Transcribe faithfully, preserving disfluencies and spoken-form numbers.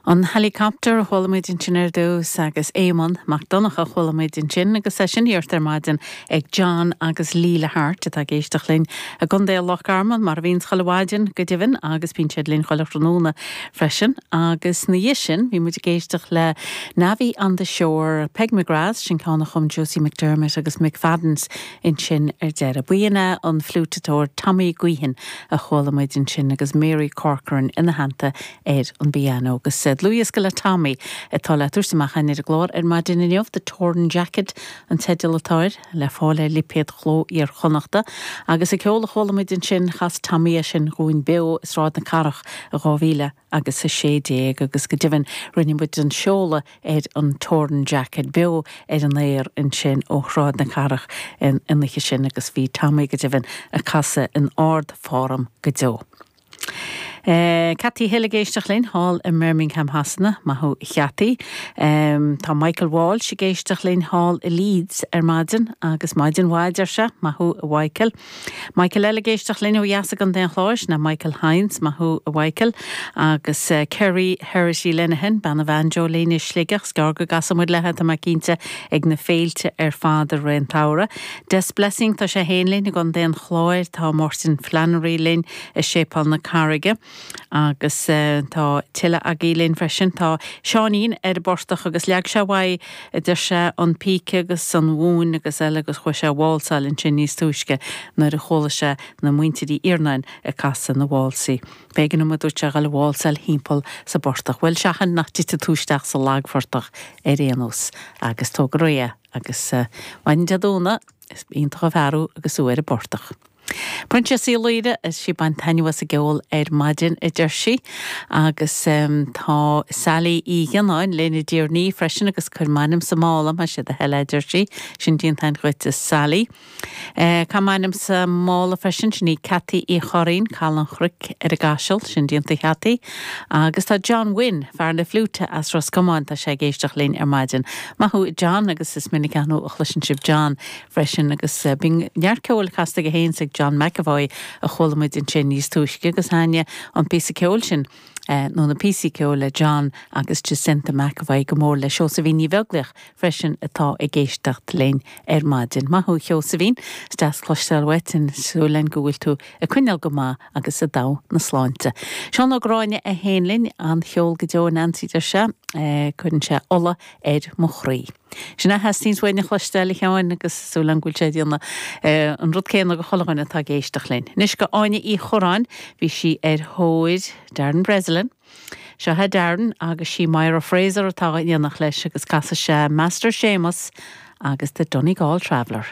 An helicopter a chuala muid ansin ar dtús agus Éamonn Mac Donncha a chuala muid ansin agus é sin iarrta ar maidin ag John agus Leela Hart atá ag éisteacht linn i gContae Loch Garman mar a bhíonn chuile mhaidin go deimhin agus bíonn siad linn chuile thráthnóna freisin agus ina dhiaidh sin bhí muid ag éisteacht le Navvy on the Shore Peg McGrath sin ceann a chum Josie McDermott agus McFadden's ansin ar deireadh. B'in é an fliúiteoir Tommy Guihan a chuala muid ansin agus Mary Corcoran ina theannta ar an bpianó agus dlúthdhiosca le Tommy atá le tabhairt amach ar an gclár ar maidin inniu The Torn Jacket an teideal atá air le fáil ar lipéad Chló Iar-Chonnachta agus an ceol a chuala muid ansin chas Tommy é sin dúinn beo i Sráid na Cathrach i dhá mhíle agus a sé déag agus go deimhin rinne muid an seoladh ar an Torn Jacket beo ar an aer ansin ó Shráid na Cathrach in an oíche sin agus bhí Tommy go deimhin ag casadh in ardfhoirm go deo. Uh, Cathy Hill ag éisteacht linn thall i mBirmingham Shasana maith thú Cathy. Um, tá Michael Walsh ag éisteacht linn thall i Leeds ar maidin agus maidin mhaith deir sé maith thú a Mhichael. Michael eile ag éisteacht linn ó dheas i gContae an Chláir ná Michael Hines maith thú a Mhichael agus uh, Kerry Herity Lenahan bean an bhanjo linn i Sligeach scar go gcasaimid léi tá mé cinnte ag na féilte ar fad i rith an tsamhraidh. Des Blessing tá sé féin linn i gContae an Chláir tá Martin Flannery linn i Séipéal na Carraige. agus uh, tá tuilleadh agaibh linn freisin tá Seáinín ar an bportach agus leag sé uaidh a deir sé an píce agus an mhóin agus eile agus chuaigh sé válsáil ansin níos túisce nuair a chuala sé na muintir Uí Iarnáin ag casadh na válsaí. B'éigean dom a dúirt sé dul ag válsáil timpeall sa bportach, Bhuel seachain nach dtitfidh tú isteach sa lagphortach ar aon nós agus tóg go réidh agus uh, maidin Dé Domhnaigh is iontach an fear thú agus tú ar an bportach. Proinsias Uí Laoire is sí ag baint taitneamh as an gceol ar maidin a deir sí agus um, tá Sally Uí Ghionáin linn i dTír an Fhia freisin agus cuir m'ainm sa mála más é do thoil a deir sí sin déanta duit Sally. Uh, Tá m'ainm sa mála freisin sin í Cathy Uí Choirín Caladh an Chnoic ar an gCaiseal sin déanta Cathy agus tá John Wynn fear na fliúite as Ros Comáin tá sé ag éisteacht linn ar maidin. Maith thú John agus is minic a chloiseann sibh John freisin agus uh, bíonn neart ceoil casta aige féin ag John McAvoy a chuala muid ansin níos túisce agus thaitnigh an píosa ceoil sin. Uh, nó na píosaí ceoil le John agus Jacinta McAvoy go mór le Seosaimhín Ní Bheaglaoich freisin atá ag éisteacht linn ar maidin. Maith thú Sheosaimhín deas cloisteáil uait an súlen go bhfuil tú ag coinneáil go maith agus i dtogha na sláinte. Seán Ó Gráinne é féin linn an-cheol go deo Nancy deir sé uh, cuireann sé ola ar mo chroí. Sin a theastaíonn uainn a chloisteáil a Sheáin agus súil agam go bhfuil sé déanamh an rud céanna go chuile dhuine atá ag éisteacht linn. Anois go Áine Uí Chorráin bhí sí ar thóir Darren Breslin. Seo é Darren agus sí Myra Fraser atá ag éisteacht leis agus casfaidh sé Master Seamus agus the Donegal Traveller.